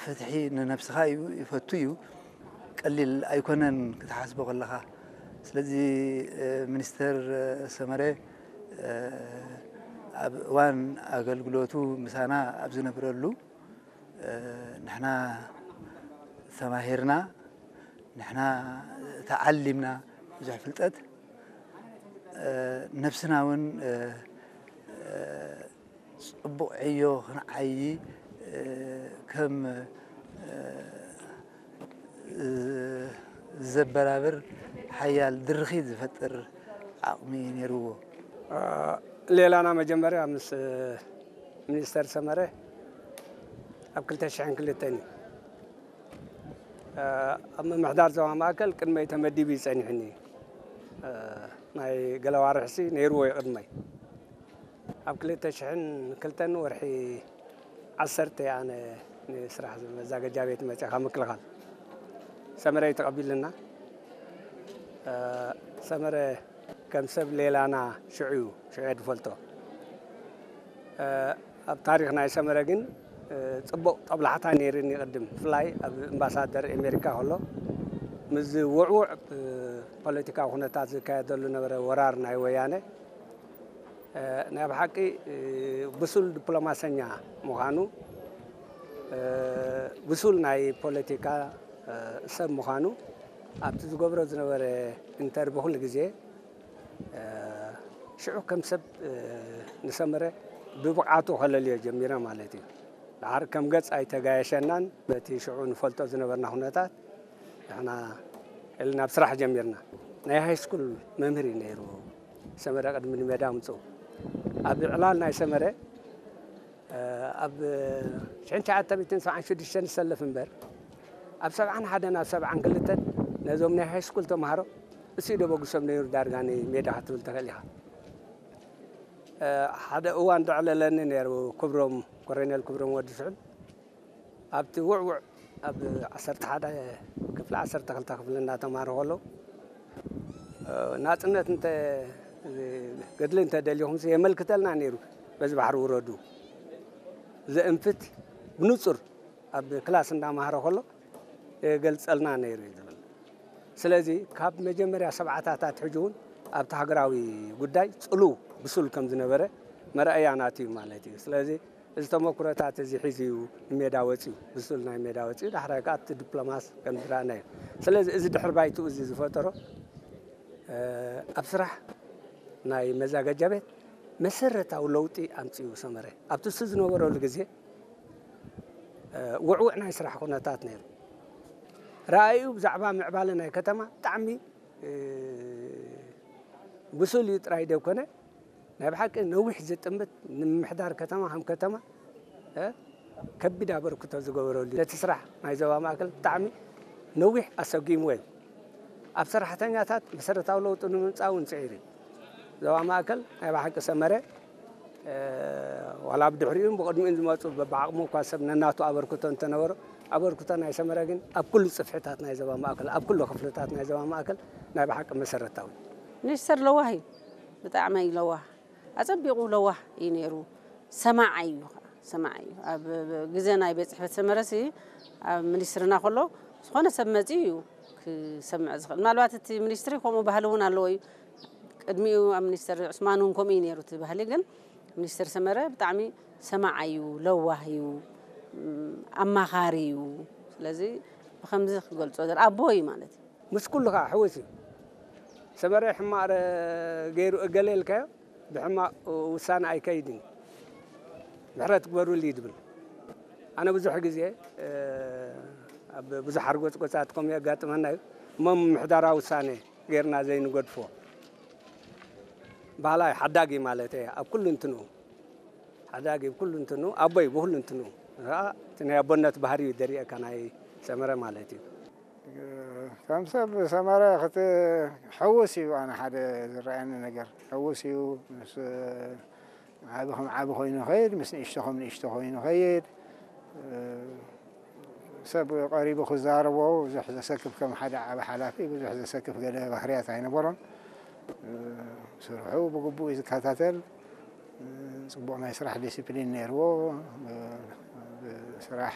ፍትሒ ንነብስኻ እዩ ይፈቱ እዩ። ቀሊል ኣይኮነን ክትሓስቦ ከለኻ። ስለዚ ሚኒስተር ሰመረ ኣብ እዋን ኣገልግሎቱ ምሳና ኣብ ዝነብረሉ ንሕና ተማሂርና፣ ንሕና ተዓሊምና ብዙሕ ፍልጠት፣ ነብስና እውን ጽቡቕ ዕዮ ክንዓዪ ከም ዘበራብር ሓያል ድርኺት ዝፈጥር ዓቕሚ ነይርዎ። ሌላና መጀመርያ ምስ ሚኒስተር ሰመረ ኣብ ክልተ ሽሕን ክልተን እዩ። ኣብ ምምሕዳር ዞባ ማእከል ቅድመይ ተመዲቡ እዩ ጸኒሑኒ። ናይ ገለ ኣዋርሕሲ ነይርዎ እዩ ቅድመይ። ኣብ ክልተ ሽሕን ክልተን ወርሒ ዓሰርተ ኣነ ንስራሕ መዛገጃ ቤት መጺኻ ምክልኻል ሰመረ እዩ ተቐቢልና። ሰመረ ከም ሰብ ሌላና ሽዑ እዩ፣ ሽዑ እየ ዝፈልጦ። ኣብ ታሪኽ ናይ ሰመረ ግን ጽቡቕ ጠብላሕታ ነይርኒ ቅድም፣ ብፍላይ ኣብ ኣምባሳደር ኣሜሪካ ከሎ ምስዚ ውዕውዕ ፖለቲካዊ ኩነታት ዝካየደሉ ነበረ ወራር ናይ ወያነ ናይ ብሓቂ ብሱል ዲፕሎማሰኛ ምዃኑ፣ ብሱል ናይ ፖለቲካ ሰብ ምዃኑ ኣብቲ ዝገብሮ ዝነበረ ኢንተርቪ ኩሉ ግዜ ሽዑ ከም ሰብ ንሰመረ ብብቕዓቱ ከለልዮ ጀሚረ ማለት እዩ። ደሓር ከም ገጽ ኣይተጋየሸናን። በቲ ሽዑ ንፈልጦ ዝነበርና ኩነታት ንሕና ኢልና ናብ ስራሕ ጀሚርና። ናይ ሃይስኩል መምህር እዩ ነይሩ ሰመረ ቅድሚ ንሜዳ ምጽኡ። ኣብ ዕላል ናይ ሰመረ ኣብ ሽሕን ትሽዓተ ሚእትን ሰብዓን ሽዱሽተን ዝሰለፍ እምበር ኣብ ሰብዓን ሓደን ኣብ ሰብዓን ክልተን ነዞም ናይ ሃይስኩል ተምሃሮ እሱ እዩ ደበግሶም ነይሩ ዳርጋ ንሜዳ ክትብል ትኽእል ኢኻ። ሓደ እዋን ዘዕለለኒ ነይሩ ክብሮም፣ ኮሎኔል ክብሮም ወዲ ስሑል ኣብቲ ውዕውዕ ኣብ ዓሰርተ ሓደ ክፍሊ ዓሰርተ ክልተ ክፍሊ እናተማሃሩ ከለዉ ናጽነት እንተ ገድሊ እንተደሊኹም የመልክተልና ነይሩ። በዚ ባሕሪ ውረዱ ዘእንፍት ብንጹር ኣብ ክላስ እንዳመሃረ ከሎ የገልጸልና ነይሩ እዩ ዝብል። ስለዚ ካብ መጀመርያ ሰብዓታት ኣትሒዙ እውን ኣብቲ ሃገራዊ ጉዳይ ጽሉው ብሱል ከም ዝነበረ መርኣያ ናቱ እዩ ማለት እዩ። ስለዚ እዚ ተመኩሮታት እዚ ሒዙ እዩ ንሜዳ ወጺኡ፣ ብሱል ናይ ሜዳ ወጺኡ፣ ዳሕራይ ከኣ ኣብቲ ዲፕሎማስ ከም ዝረኣናዮ። ስለዚ እዚ ድሕሪ ባይትኡ እዚ ዝፈጠሮ ኣብ ስራሕ ናይ መዛገጃ ቤት መሰረታዊ ለውጢ ኣምጺኡ ሰመረ። ኣብቲ እሱ ዝነበረሉ ግዜ ውዕውዕ ናይ ስራሕ ኩነታት ነይሩ። ረኣዩ ብዛዕባ ምዕባለ ናይ ከተማ ብጣዕሚ ብሱል እዩ ጥራይ ዘይኮነ ናይ ብሓቂ ነዊሕ ዝጥምት ንምምሕዳር ከተማ ከም ከተማ ከቢድ ኣበርክቶ ዝገበረሉ ነቲ ስራሕ ናይ ዞባ ማእከል ብጣዕሚ ነዊሕ ኣሰጊምዎ እዩ። ኣብ ሰራሕተኛታት መሰረታዊ ለውጢ ንምምፃእ እውን ፅዒሩ እዩ። ዞባ ማእከል ናይ ብሓቂ ሰመረ ዋላ ብድሕሪኡን ብቕድሚኡን ዝመፁ በብዓቕሙ እኳ ሰብ ነናቱ ኣበርክቶ እንተነበሮ ኣበርክቶ ናይ ሰመረ ግን ኣብ ኩሉ ፅፍሕታት ናይ ዞባ ማእከል ኣብ ኩሉ ክፍልታት ናይ ዞባ ማእከል ናይ ብሓቂ መሰረታዊ። ሚኒስተር ለዋህ እዩ። ብጣዕሚ እዩ ለዋህ። ኣጸቢቑ ለዋህ እዩ ነይሩ። ሰማዓይ እዩ ኸዓ፣ ሰማዓይ እዩ። ኣብ ግዜ ናይ ቤት ጽሕፈት ሰመረሲ ኣብ ሚኒስትርና ከሎ ዝኾነ ሰብ መጺኡ እዩ ክሰምዕ ዝኽእል። ምናልባት እቲ ሚኒስትሪ ከምኡ ባህሊ እውን ኣለዎ እዩ። ቅድሚኡ ኣብ ሚኒስተር ዑስማን እውን ከምኡ እዩ ነይሩ እቲ ባህሊ። ግን ሚኒስተር ሰመረ ብጣዕሚ ሰማዓይ እዩ፣ ለዋህ እዩ፣ ኣማኻሪ እዩ። ስለዚ ብኸምዚ ክገልጾ ዘር ኣቦ እዩ ማለት እዩ። ምስ ኩሉ ከዓ ሕውስ እዩ። ሰመረ ሕማቕ ገይሩ እገለ ኢልካዮ ብሕማቕ ውሳነ ኣይከይድን እዩ። ምሕረት ግበሩሉ እዩ ዝብል። ኣነ ብዙሕ ግዜ ኣብ ብዙሕ ሓርጎፅጎፃት ከምኡ የጋጥመና እዩ። እሞ ምምሕዳራዊ ውሳነ ገይርና ዘይንገድፎ ባህላይ ሓዳጊ ማለት እየ ኣብ ኩሉ እንትንኡ ሓዳጊ ብኩሉ እንትንኡ ኣቦይ ብኩሉ እንትንኡ ከዓ እቲ ናይ ኣቦነት ባህሪ እዩ ደሪእካ ናይ ሰመረ ማለት እዩ። ከም ሰብ ሰመረ ክትሕውስ እዩ ኣነ ሓደ ዝረኣየኒ ነገር ሕውስ እዩ ምስ ዓቢ ከም ዓቢ ኮይኑ ይኸይድ ምስ ንእሽቶ ከም ንእሽቶ ኮይኑ ይኸይድ ሰብ ቀሪቡ ክዛረቦ ብዙሕ ዘሰክፍ ከም ሓደ ዓቢ ሓላፊ ብዙሕ ዘሰክፍ ገለ ባህርያት ኣይነበሮን ስርሑ ብግቡእ እዩ ዝከታተል ጽቡቕ ናይ ስራሕ ዲሲፕሊን ነይርዎ ስራሕ